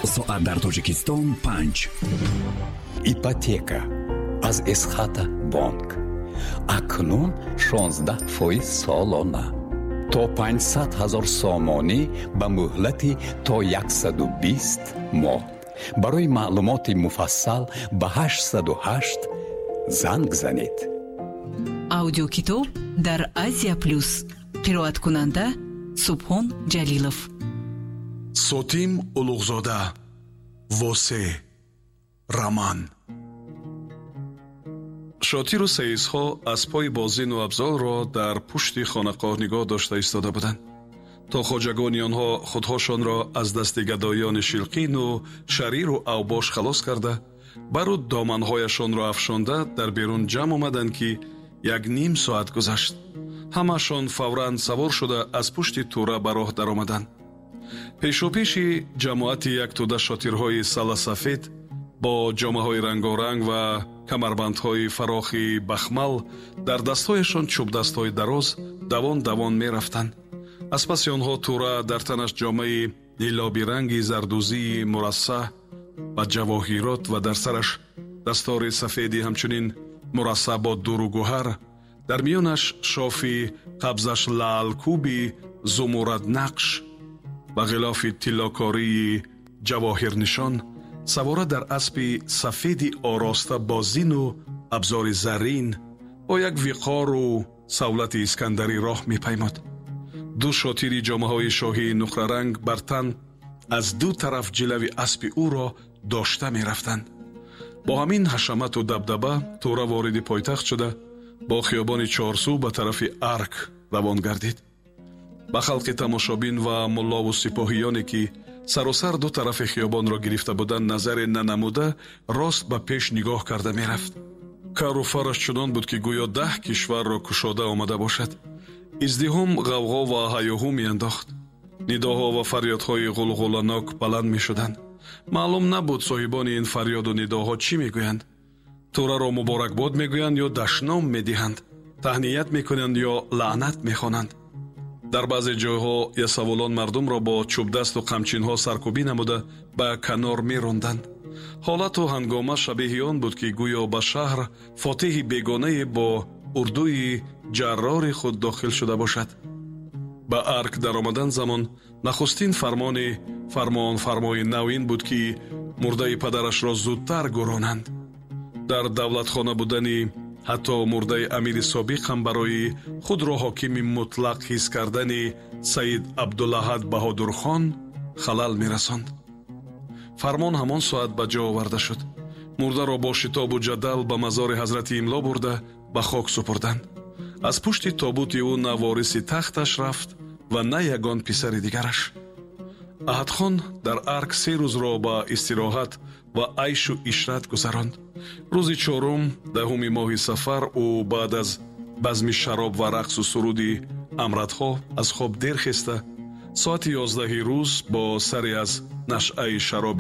Соат дар Тоҷикистон 5. Ипотека аз Эсхата Бонк. Акнун 16% солона. То 500 ҳазор сомонӣ ба муҳлати то 120 моҳ. Барои маълумоти муфассал ба 808 занг занед. Аудиокитоб дар Азия Плюс. Қироаткунанда Субҳон Ҷалилов. Сотим Улуғзода. Восе. Роман. Шотиру саисҳо аспҳои бозину абзорро дар пушти хонақоҳ нигоҳ дошта истода буданд, то хоҷагони онҳо худҳошонро аз дасти гадоёни шилқину шариру авбош халос карда, бару доманҳояшонро афшонда дар берун ҷамъ омаданд, ки як ним соат гузашт. Ҳамаашон фавран савор шуда аз пушти тура ба роҳ даромаданд. Пешопеши ҷамоати як тӯда шотирҳои саласафед бо ҷомаҳои рангоранг ва камарбандҳои фарохи бахмал, дар дастҳояшон чӯбдастҳои дароз, давон давон мерафтанд. Аз паси онҳо тура, дар танаш ҷомаи нилобиранги зардӯзии мурассаъ ба ҷавоҳирот ва дар сараш дастори сафеди ҳамчунин мурассаъ бо дуру гӯҳар, дар миёнаш шофи қабзаш лаълкӯби зумурраднақш ба ғилофи тиллокории ҷавоҳирнишон, савора дар аспи сафеди ороста бо зину абзори заррин, бо як виқору савлати искандарӣ роҳ мепаймод. Ду шотири ҷомаҳои шоҳии нуқраранг бар тан аз ду тараф ҷилави аспи ӯро дошта мерафтанд. Бо ҳамин ҳашамату дабдаба тура вориди пойтахт шуда, бо хиёбони Чорсӯ ба тарафи Арк равон гардид. Ба халқи тамошобин ва муллову сипоҳиёне, ки саросар ду тарафи хиёбонро гирифта буданд, назаре нанамуда, рост ба пеш нигоҳ карда мерафт. Кару фараш чунон буд, ки гӯё 10 кишварро кушода омада бошад. Издиҳом ғавғо ва ҳаёҳу меандохт. Нидоҳо ва фарёдҳои ғулғуланок баланд мешуданд. Маълум набуд, соҳибони ин фарёду нидоҳо чӣ мегӯянд: тураро муборакбод мегӯянд ё дашном медиҳанд, таҳният мекунанд ё лаънат мехонанд. Дар баъзе ҷойҳо ясавулон мардумро бо чӯбдасту қамчинҳо саркӯбӣ намуда, ба канор меронданд. Ҳолату ҳангома шабеҳи он буд, ки гӯё ба шаҳр фотиҳи бегонае бо урдуи ҷаррори худ дохил шуда бошад. Ба Арк даромадан замон нахустин фармони фармонфармои нав ин буд, ки мурдаи падарашро зудтар гӯронанд. Дар давлатхона будани ҳатто мурдаи амири собиқ ҳам барои худро ҳокими мутлақ ҳис кардани Саид Абдулаҳад Баҳодурхон халал мерасонд. Фармон ҳамон соат ба ҷо оварда шуд. Мурдаро бо шитобу ҷадал ба мазори ҳазрати Имло бурда, ба хок супурданд. Аз пушти тобути ӯ на вориси тахташ рафт ва на ягон писари дигараш. Аҳадхон дар Арк 3 рӯзро ба истироҳат ва айшу ишрат гузаронд. Рӯзи чорум, 10-уми моҳи сафар, ӯ баъд аз базми шароб ва рақсу суруди амратҳо аз хоб дер хеста, соати 11-и рӯз бо саре аз нашъаи шароби